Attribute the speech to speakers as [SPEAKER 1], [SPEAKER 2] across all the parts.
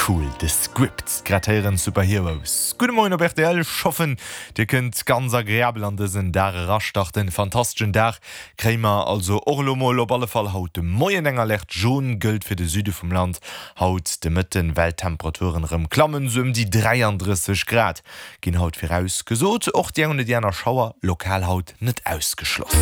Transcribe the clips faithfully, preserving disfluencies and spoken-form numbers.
[SPEAKER 1] Cool, The Script, grad héieren Superheroes. Gudde Moien op rtl, ech hoffen dir kënnt ganz agreabel an dësen Dag erastarten. Fantasteschen Dag kréie mer also och elo mol op alle Fall haut de Moien. Eng Alerte jaune gëllt fir de Süde vum Land haut de Mëtten, well d'Temperaturen erëm klammen, sou ëm déi dräiandrësseg Grad ginn haut virausgesot. Och déi eng oder déi aner Schauer lokal haut net ausgeschloss.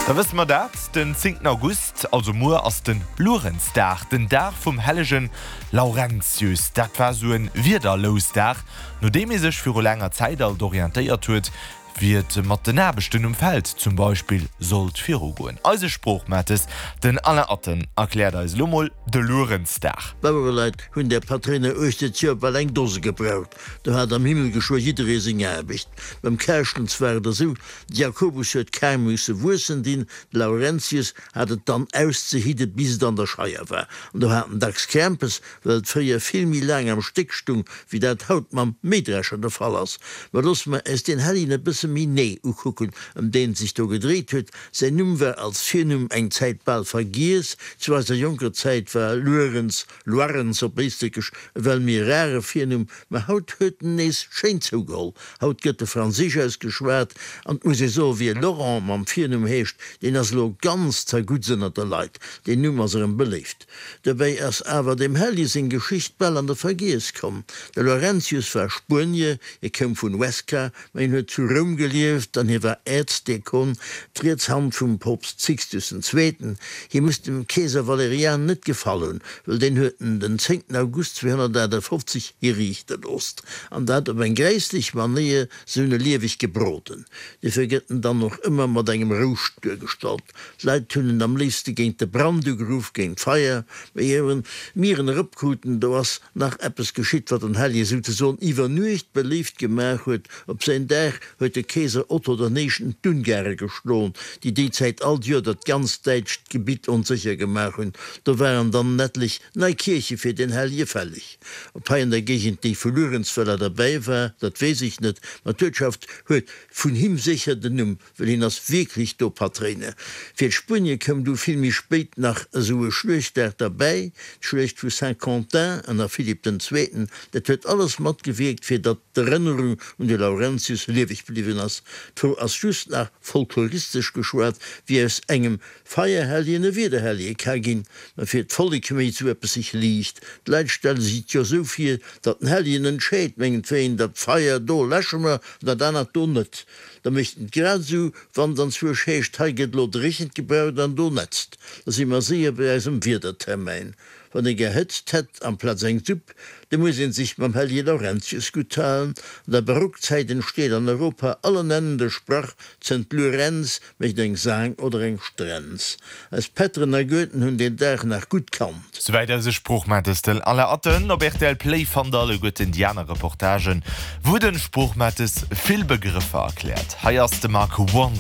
[SPEAKER 1] Da wësse mer dat, den zéngten August, also muer, ass de Luerenzdag, den Dag vum hellege Laurentius. Dat war sou e Wiederlousdag, no deem ee sech viru laanger Zäit alt orientéiert huet, wéi et mat den Aarbechten um Feld zum Beispill sollt virugoen. Eise Sproochmates, den Alain Atten, erkläert eis elo mol de Luerenzdag.
[SPEAKER 2] D'Bauereleit hunn där Patréiner uechter d'Joer bal eng Dose gebraucht. Do hat am Himmel geschwë jidderee seng Aarbecht. Beim Kärschtens war et esou, de Jakobus huet d'Kar musse wuessen dinn, de Laurentius hat et dann auszehidde bis et an der Scheier war. An do hat en dacks Krämpes, well et fréier vill méi laang am Stéck stung, wéi dat haut mam Mähdrescher de Fall ass. Mä loosse mer äis deen Helljen e bësse méi nee ukucken, ëm deen et sech do gedréit huet. Säin Numm war als Virnumm eng Zäit bal vergiess. Zu eiser jonker Zäit war Luerens, Lorenz op Éisträchesch, e well méi rare Virnumm, mä haut huet en nees schéin zougeholl. Haut gëtt e franséisch ausgeschwat an 't muss ee soen, wie Laurent mam Virnumm heescht, deen ass elo ganz zerguttst ënnert de Leit. Deen Numm ass erëm beléift. Dobäi ass awer dem Helli seng Geschicht bal an de Vergiess komm. De Laurentius war Spuenier, hie koum vun Huesca, mä hien huet zu Roum gelieft an hie war Äerzdiakon, d'riets Hand vum Poopst Sixtus den Zweeten. Hie muss dem Keeser Valerian net gefall hunn, wëll deen huet en den zéngten August zweehonnertaachtafofzeg hiriichte loosst, an dat op eng gräisslech Manéier, se hunn e lieweg gebroden. Dofir gëtt en dann och ëmmer mat engem Rouscht duergestallt. D'Leit hunn en am léifste géint de Brand ugeruff, géint d'Feier. Mä ier mir en eropkruten, do ass nach eppes geschitt, wat den Hellje souzesoen iwwer Nuecht beléift gemaach huet. Op säin Dag huet de Keeser Otto den Éischten d'Ungare geschloen, déi déi Zäit all Joer dat ganzt däitscht Gebitt onsécher gemaach hunn. Do waren dann en etlech nei Kierche fir den Hellje fälleg. Ob hei an der Géigend déi vu Luerenzweiler derbäi war, dat weess ech net, ma d'Uertschaft huet vun him sécher den Numm, well hien ass wierklech do Patréiner. Fir d'Spuenie koum du vill méi spéit nach esou e Schluechtdag derbäi, d'Schluecht vu Saint-Quentin ënner Philipp den Zweeten. Dat huet alles matgewierkt, fir datt d'Erënnerung un de Laurentius lieweg bliwwen ass. D'Fro ass just nach, folkloristesch geschwat, wéi aus engem Feierhelljen e Wiederhellje ka ginn. Mä fir d'Vollek mécht esou eppes sech liicht. D'Leit stelle sech et jo esou vir, datt den Helljen entscheet, mengetwéien, dat Feier do läsche mer an dat anert do net. Da mécht en et grad esou, wann et anzwousch heescht, hei gëtt elo dréchent gebraucht an do nätzt. Da si mer séier bei eisem Wiedertermäin. Wann ee gär Hëtzt hätt amplaz eng Supp, da muss ee sech mam Hellje Laurentius gutt halen. An der Barockzäit entsteet an Europa allen Ennen de Sprach, Zënnt Lurenz mécht eng Saang oder eng Strenz. Eis Pätteren a Goeten hunn deen Dag nach gutt kannt.
[SPEAKER 1] Souwäit eise Sproochmates den Alain Atten. Op rtl Play fannt der alleguerten déi aner Reportagen, wou den Sproochmates vill Begrëffer erkläert. Hei ass de Mark One.